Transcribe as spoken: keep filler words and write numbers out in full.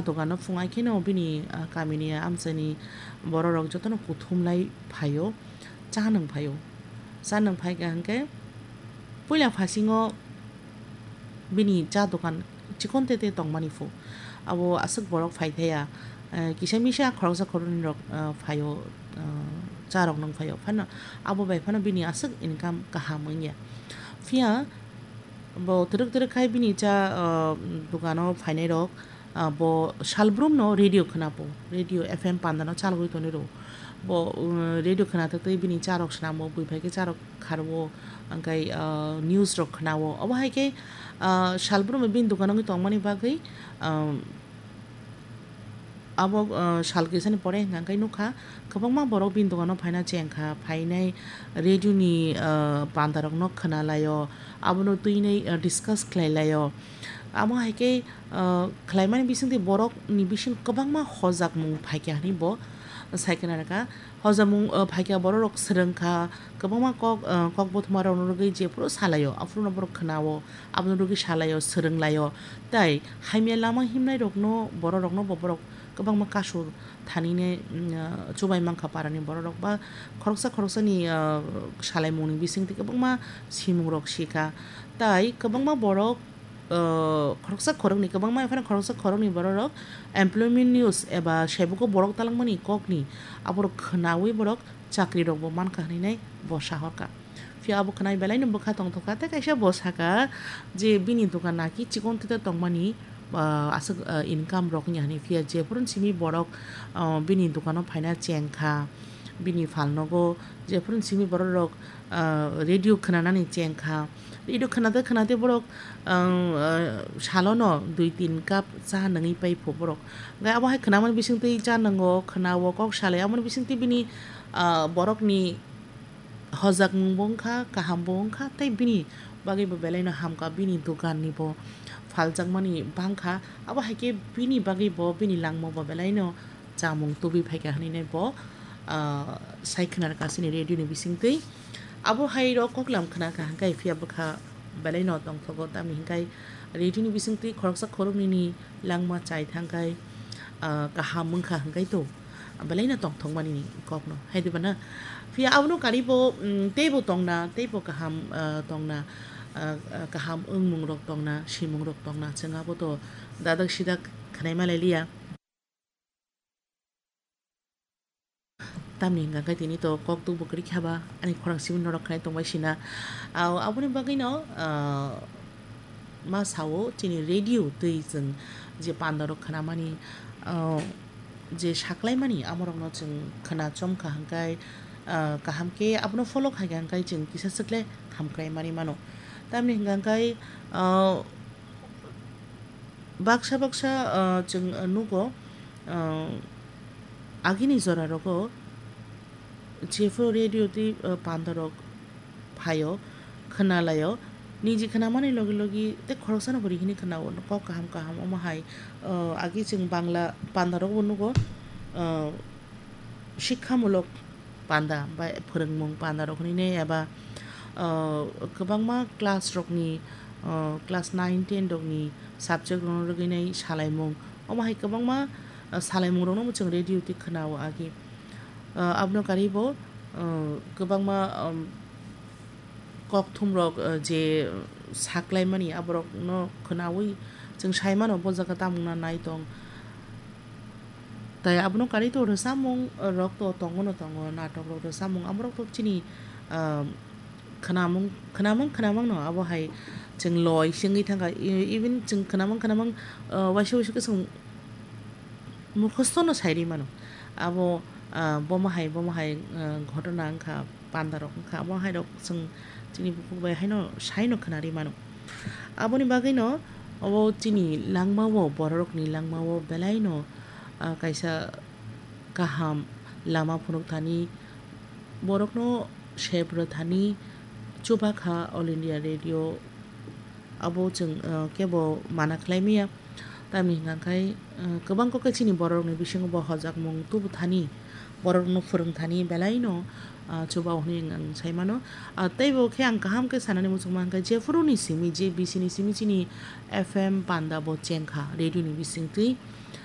Dogano phungai kheno bini, ah, kamini amchaini bororok jotono kuthum lai phaio, cha nung phaio. Cha nung phaikha hwnkhe puila phasingo bini cha dogan chikon tete tongmani phu. Abo aswk borok phai thaya, eh, kisa misa khoroksa khoroknwi rok, eh, phaio, eh, cha rok nung phaio. Phano abo bai phano bini aswk income kaham wngya. Phiya bo twrwk twrwk khai bini cha, eh, dogano phainai rok, ah, bo salbrumno radio khwnapo, radio F M pandano chalogwi tonwi rwo. Bo, uh, radio khwna twi bini charok snamo, bui phai khe charok kharwo, hwnkhe, ah, news rok khwnawo. Obo hai khe, ah, salbrumno bini dogano wngwi tongmani bagwi, um, abo, ah, sal kisani pore hwnkha hwnkhe nukha, kwbangma borok bini dogano phaina chengkha, phainai radio ni, ah, pandarokno khwnalaio, abono twinwi, ah, discuss khlailaio. Amo hai khe, ah, khlaimani bisingtwi borokni bising kwbangma hojakmung phaikha hwnwi bo sai khna rwkha. Hojakmung, ah, phaikha bororok swrwngkha, kwbangma kok, ah, kok bothomarokno rwgwi jephuru salaio, aphuru borok khwnao, abono rwgwi salaio, swrwnglaio. Tai hamya lama himnairokno, bororokno bo borok kwbangma kasur thanine, mm, ah, chubai mankha parani bororok ba khoroksa khoroksani, ah, salaimungni bisingtwi kwbangma simungrok sikha. Tai kwbangma borok, ah, khoroksa khoroknwi, kwbangma phano khoroksa khoroknwi bororok employment news eba saibuko borok talangmani kokni aborok khwnawi borok chakrirokbo mankha hwnwi nai bo sahorkha. Phiya abo khwnai belaino bwkha tongthokha, tei kaisa bo sakha je bini dogan naki chikon tete tongmani, ah, aswk, ah, income rok wngya hwnwi. Phiya jephuru simi borok, ah, bini dogano phaina chengkha, bini phalnogo jephuru simi bororok, ah, radio khwnanani chengkha. Radio khwnate khwnate borok, ah, ah, salono dui tin cup cha nungwi paipho borok. Hwnkhe abo hai khwnamani bisingtwi cha nungo, khwnao, kok salai, aboni bisingtwi bini, ah, borokni hojakmungbo wngkha, kahambo wngkha, tei bini bagwibo belaino hamkha, bini dogannibo phaljakmani bangkha. Abo hai khe bini bagwibo, bini langmabo belaino chamung tubui phaikha hwnwi nai bo, ah, sai khna rwkha chini radio ni bisingtwi. Abo hai rok koklam khna kha hwnkhe phiya bwkha belaino tongthogo, tamni hwnkhe radio ni bisingtwi khoroksa khoroknwini langma chai thangkhai, ah, kaham wngkha hwnkhe to belaino tongthokmani kokno hai diba na. Phiya abono karibo, mm, teibo tongna, teibo kaham, ah, tongna, ah, ah, kaham wngmung rok tongna, simung rok tongna, chwng abo to dadak sidak khnaima lai liya. Tamni hwnkha khe tini to kok tubuk kwrwi kha ba, ani khorang simi norok khnai tongbai sina. Au, aboni bagwino, ah, ma sao chini radio twi chwng je pandarok khnamani, ah, je saklaimani amorokno chwng khna chomkha hwnkhe, ah, kaham khe abono follow khaikha hwnkhe chwng kisa swkle hamkrai mani mano. Tamni hwnkha hwnkhe, ah, baksa baksa, ah, chwng nugo, ah, agini jora rogo jephuru radio tei, ah, pandarok phaio, khwnalaio, niji khwnamani logi logi tei khoroksano bo rihini khwnao, kok kaham kaham omo hai, ah, agi chwng Bangla pandarokbo nugo, ah, shikhamulok panda bai phwrwngmung pandarok hinwi eba, ah, kwbangma class rokni, ah, class nine ten rokni subject rokno rwgwinai salaimung, omo hai kwbangma, ah, salaimungrokno chwng radio twi khwnao agi. Ah, abono karibo, ah, kwbangma, um, kokthumrok, ah, je saklaimani aborokno khwnawi chwng saimano bo jaga tamungna nai tong. Tai abono kari to rwchapmung rok to tongo no tongo, natok rok rwchapmung amorok to chini, ah, khwnamung, khwnamung, khwnamung no abo hai chwng loi se wngwi thangkha. E-, even chwng khwnamung, khwnamung, ah, waisa waisa khe chwng mukhosto no sai ri mano. Abo, ah, bomo hai, bomo hai, ah, ghotona wngkha, panda rok wngkha, abo hai rok chwng chini bukhuk bai haino saino khwnari mano. Aboni bagwino obo chini langmao, bororokni langmao belaino, ah, kaisa kaham lama phunukthani, borokno sep rwthani chubakha All India Radio. Abo chwng, ah, kebo mana khlai maya. Tamni hwnkha khe, ah, kwbang kok khe chini bororokni bisingo bo hojakmung tubu thani, bororokno phwrwng thani belaino, ah, chuba hwnwi ang, ang sai mano. Ah, teibo khe ang kaham khe sanani muchungma hwnkha, jephuruni simi, je bisini simi chini F M panda bo chengkha, radio ni bisingtwi.